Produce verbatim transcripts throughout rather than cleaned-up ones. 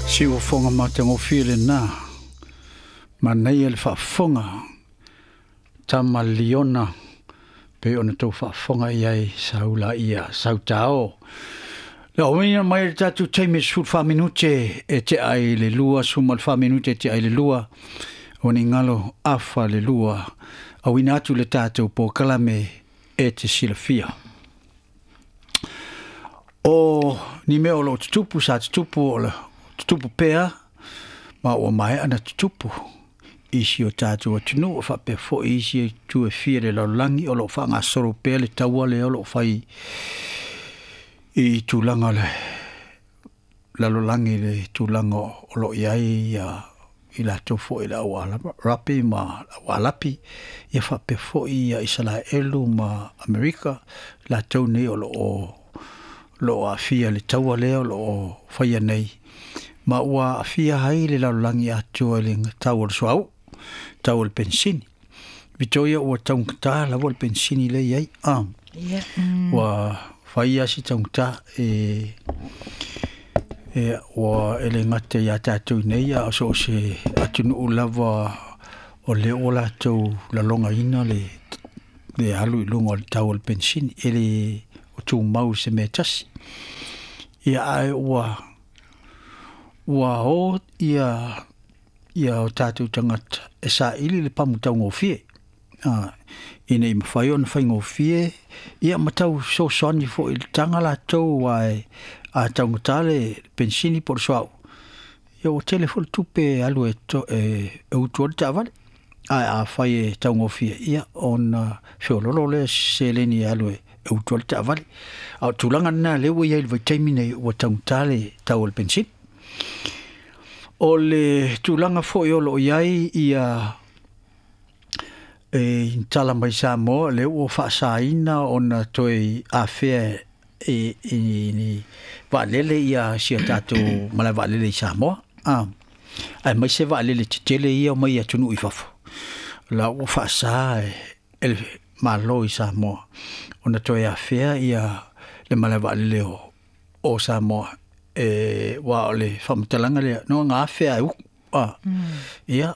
Siufofoga matagofie lenā manaia le faafofoga tama liona pei ona tou faafofoga i ai saula ia sautao. Le auina mai le tatou taimi sefulufa minute e tea i le lua, suma le fa minute e tea i le lua, o ni galo afa le lua, auina atu le tatou polokalame e te silafia. O ni mea o loo tutupu sa tutupu o le tutupu pea ma ua maea na tutupu i si o tatou atunuu faapea foi isi itu e fia le lalolagi o loo faagasolo pea le taua lea o loo fai i tulaga o le lalolagi le tulaga o loo i ai ia i latou foi le au Arapi ma au Alapi ia faapea foi ia Isalaelu ma Amerika latou nei o loo loo aafia le taua lea o loo faia nei ma ua aafia ai le lalolagi atoa i le tau o le suauu, tau o le penisini. Vitoria, ua taugata lava le penisini lea i ai a Yeah. Mm. ua fai si taugata e e ua e le gata iā tatou nei a o so o se atunuu lava o lea ua latou lalogaina le le alu i luga o le tau o le penisini e le o tumau se mea tasi ia ae ua ua o ia ia o tatou tagata e saili le pamu taugofie a ina i mafai ona faigofie ia ma tau fesoasoani foi i le taga latou ae a taugata le penisini po o le suauu ia ua tele foi le tupe e alu e, to, e, e utu ai le taavale ae afai e taugofie ia ona feololo lea seleni e alu e, e utu ai le taavale a o tulaga lena lea ua i ai le vaitaimi nei ua taugata le tau o le penisini. O le tulaga foi o loo i ai ia e tala mai Samoa lea ua faasaina ona toe afea e, e, ni vaalele ia si o tatou malae vaalele i Samoa a aemaise vaalele tetele ia mai atunuu i fafo la ua faasa e, e le Malo i Samoa ona toe afea ia le malae vaalele o, o Samoa e ua o le faamatalaga lea no ga afea e uku a Mm. ia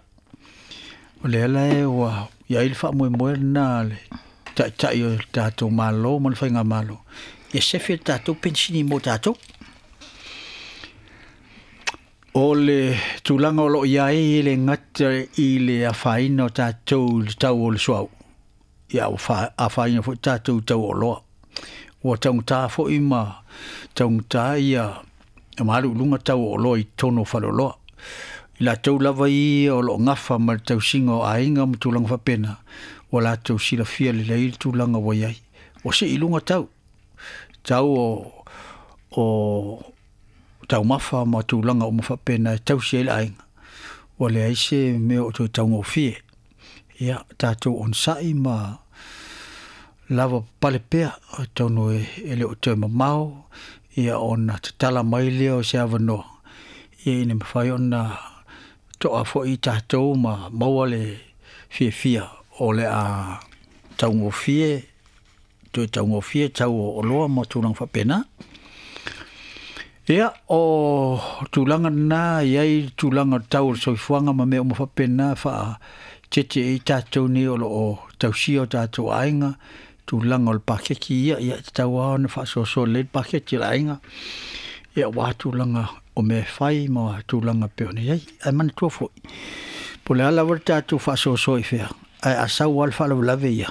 o lea la e ua i ai le faamoemoe lena le taitai o le tatou Malo ma le faigamalo ia sefe le tatou penisini mo tatou. O le tulaga o loo i ai e le gata i le afaina o tatou i le tau o le suauu ia ua fa afaina foi tatou i tau o oloa ua taugata foi ma taugata ia ma alu i luga tau o oloa i totonu o faleoloa i latou lava ia o loo gafa ma le tausiga o aiga ma tulaga faapena ua latou silafia lelei le tulaga ua i ai ua sii i luga tau tau o o taumafa ma tulaga uma faapena e tausi ai le aiga ua leai se mea o toe taugofie ia tatou onosai ma lava papale pea atonu e, e le o toe mamao ia ona tatala mai lea o se avanoa ia ina mafai ona toa foi tatou ma maua le fiafia o le a taugofie toe taugofie tau o oloa ma tulaga faapena. Ia o tulaga lena i ai tulaga o le tau o le soifuaga ma mea uma faapena faaetete ai tatou nei o loo tausia o tatou aiga tulaga o le paketi ia ia e tatau lava ona faasoasoa lelei le paketi o le aiga ia aua tulaga o mea e fai ma tulaga pei ona i ai ae manatua foi po o le a lava le tatou faasoasoa i fea ae a sau lava le faalavelave ia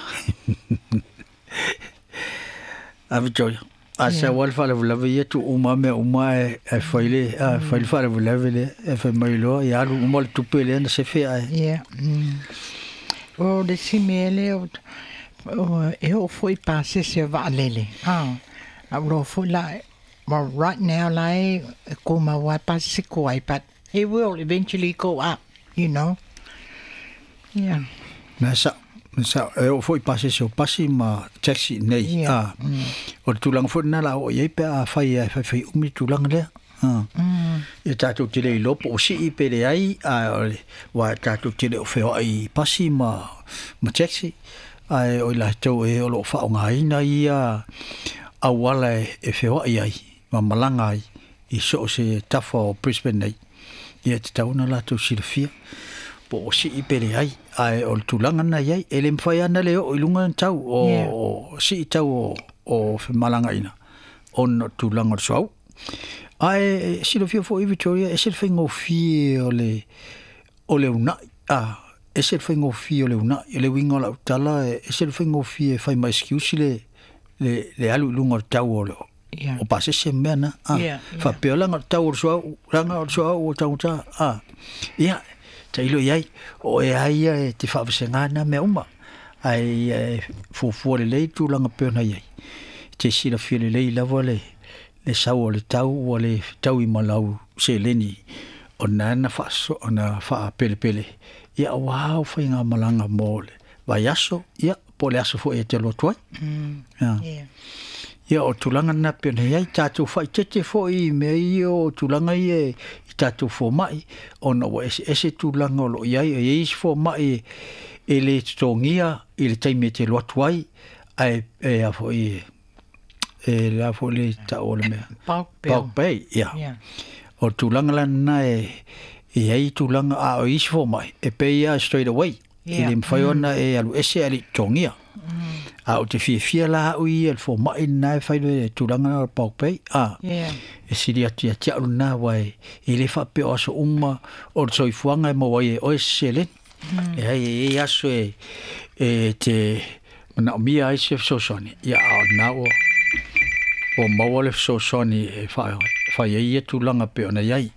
a Victoria a sau lava le faalavelave ia tuu uma mea uma ae ae fai le a fai le faalavelave lea e fai mai loa ia alu uma le tupe lea na sefe ae Yeah. Mm. O le isi mea lea o o e oo foi pasese o vaalele. Ah. A ua foi la well, right now la e tumau lava pasese tuai, but it will eventually go up, you know. Yeah. Na sa na sa e oo foi pasese o pasi ma taxi nei Yeah. a o le tulaga foi lena la oo i ai pe a fai e faifai umi le tulaga lea a Mm. ia tatou te le iloa po o sii pe leai ae o le aua tatou te le o feoai i pasi ma ma taxi ae o i latou e o loo faaaogaina ia auala e, e feoai ai ma malaga ai i so o se tafa o Brisbane nei. Ia te tauna latou silafia po o sii pele ai ae o le tulaga na iai e le mafai ana le oo i luga tau o, Yeah. o sii tau o, o femalagaina ona o tulaga o le suauu. Ae silafia foi Victoria e se le faigofie o le o le unai a e se le faigofie o le unai o le uiga o lau tala e se le faigofie e fai ma excuse le le le alu i luga o le tau o le Yeah. o pasese mea na a Yeah, yeah. faapea laga o le tau o le suauu laga o le suauu o taugata a ia tailo i ai o e ai ia e te faavasega na mea uma ae ia e fuafua lelei tulaga pei ona i ai te silafia lelei lava le le sau o le tau ua le taui ma lau seleni ona na faaso ona faapelepele ia auā o faigamalaga mo le vaiaso ia po o le aso foi e te alu atu ai. Mm. Ia. Yeah. Ia o tulaga na pei ona i ai tatou faaitete foi i mea ia o tulaga ia i tatou fomai ona ua eseese tulaga o loo i ai e i ai isi fomai e le totogia i le taimi e te alu atu ai ae e a foi e le a foi le tau o le mea Bulk bill. bulk pay ia Yeah. o tulaga la lena e e ai tulaga a o isi fomai e pay ia straight away e Yeah. le mafai ona e alu ese ae le i totogia a o te fiafia la au ia le fomai lena e fai le tulaga o le bulk pay a Yeah. e sili atu ia te au lena ua e e le faapea o aso uma o le soifuaga e maua ai e oe se seleni e ai e i aso e e te manaomia ai se fesoasoani ia a o lena ua ua maua le fesoasoani e fai fai ai ia tulaga pei ona i ai.